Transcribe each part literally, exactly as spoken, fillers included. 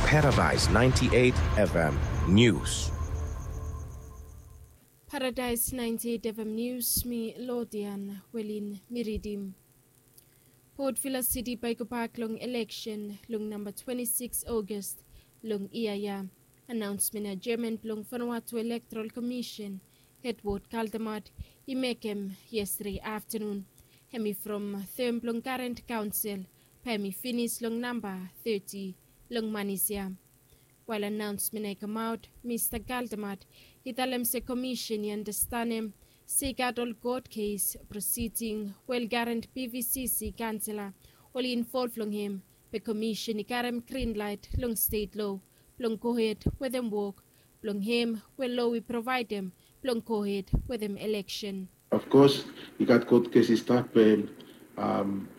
Paradise ninety-eight F M News. Paradise ninety-eight F M News, mi Lodian Welin mi ridim. Port Vila City bae i gobak long eleksen long namba twenti sikis August long yia ya. Anaonsmen adjournment blong Vanuatu Electoral Commission, Edward Kaldemat, i mekem yestade aftenun. Hem i from tem blong karent kaonsel, bae hem i finis long namba teti long manis ya. Wael anaonsmen ya i kamaot, Mista Kaldemat i talem se komisen i andastanem se i gat ol kot kes prosiding we ol karent P V C C kaonsela oli involv long hem, be komisen i karem grin laet long stet lo blong gohed wetem wok blong hem we lo i provaedem blong gohed wetem eleksen. Of kos, i gat kot kes i stap, be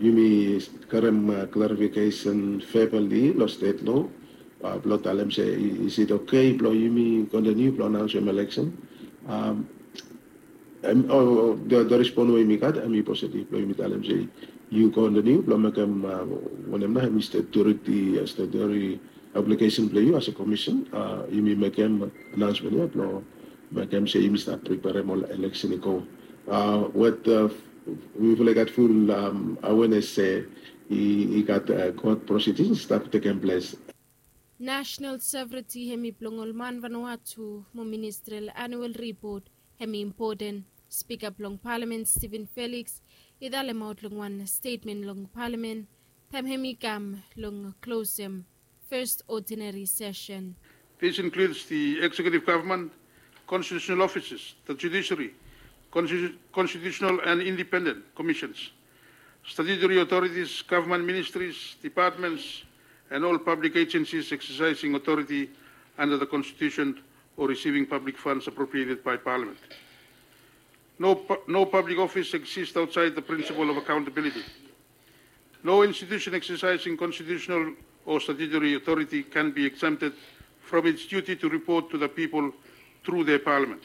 yumi karem klarifikesen vebali long stet lo. Blong talem se is it oke blong yumi kontiniu blong anaonsem eleksen. Em, o, o, the, the respon we yumi gat, em, i positive blong yumi talem se yu kontiniu blong mekem, a, wanem nao, em, i statutory, a, statutory obligation blong yu as a commission, a, yumi mekem anaonsmen ya blong mekem se yumi stap preperem ol eleksen i go. A, wet, a, mifala i gat ful, am, awenes se i, i gat, a, kot prosidings i stap tekem ples. Nasenal sovereignty hem i blong ol man Vanuatu mo ministrel anual ripot hem i impoten. Spika blong palamen Stephen Felix i talemaot long wan stetmen long palamen taem hem i kam long klosem fes odinari sesen. This includes the executive government, constitutional offices, the judiciary, constitu-, constitutional and independent commissions, statutory authorities, government ministries, departments, and all public agencies exercising authority under the Constitution or receiving public funds appropriated by Parliament. No pu-, no public office exists outside the principle of accountability. No institution exercising constitutional or statutory authority can be exempted from its duty to report to the people through their Parliament.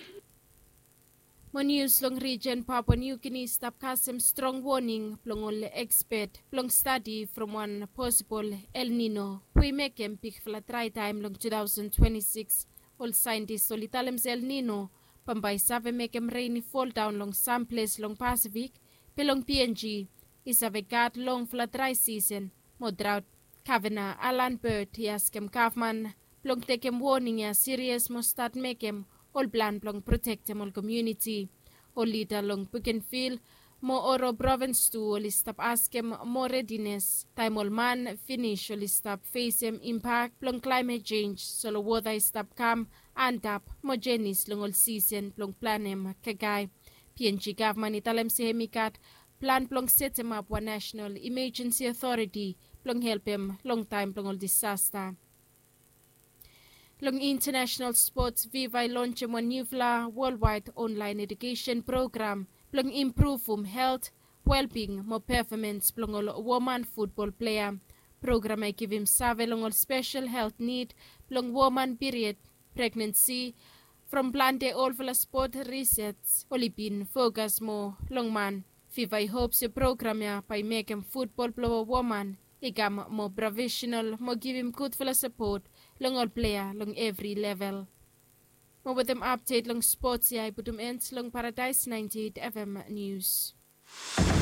Mo nius long rijen Papua New Guinea i stap kasem strong woning blong ol ekspet blong stadi from wan posibol El Nino we i mekem bigfala drae taem long two thousand twenty-six. Ol saentis oli talem se El Nino bambae i save mekem ren i foldaon long sam ples long Pasifik, be long P N G i save gat longfala drae sisen mo draot. Gavena Alan Bird i askem gavman blong tekem woning ya sirias mo stat mekem ol plan blong protektem ol komuniti. Ol lida long Bougainville mo Oro provins tu oli stap askem moa redines taem ol man finis oli stap fesem impak blong klaemet jenj, solo wota i stap kam antap mo jenis long ol sisen blong planem kakae. P N G gavman i talem se hem i gat plan blong setemap wan nasenal imajensi otoriti blong helpem long taem blong ol disasta. Long intanesenal spots, Viva i lonsem wan niufala wolwaed onlaen ejukesen program blong impruvum helt, welbing mo pefomans blong ol woman futbol plea. Program ya i givim save long ol spesel helt nid blong woman piried, pregnensi, from plante olfala spot risej oli bin fokas moa long man. Viva i hop se program ya bae i mekem futbol blong woman i kam moa profesenal mo givim gudfala sapot long ol plea long evri level. Mo wetem apdet long spots ya i putum en long Paradaes ninety-eight F M Nius.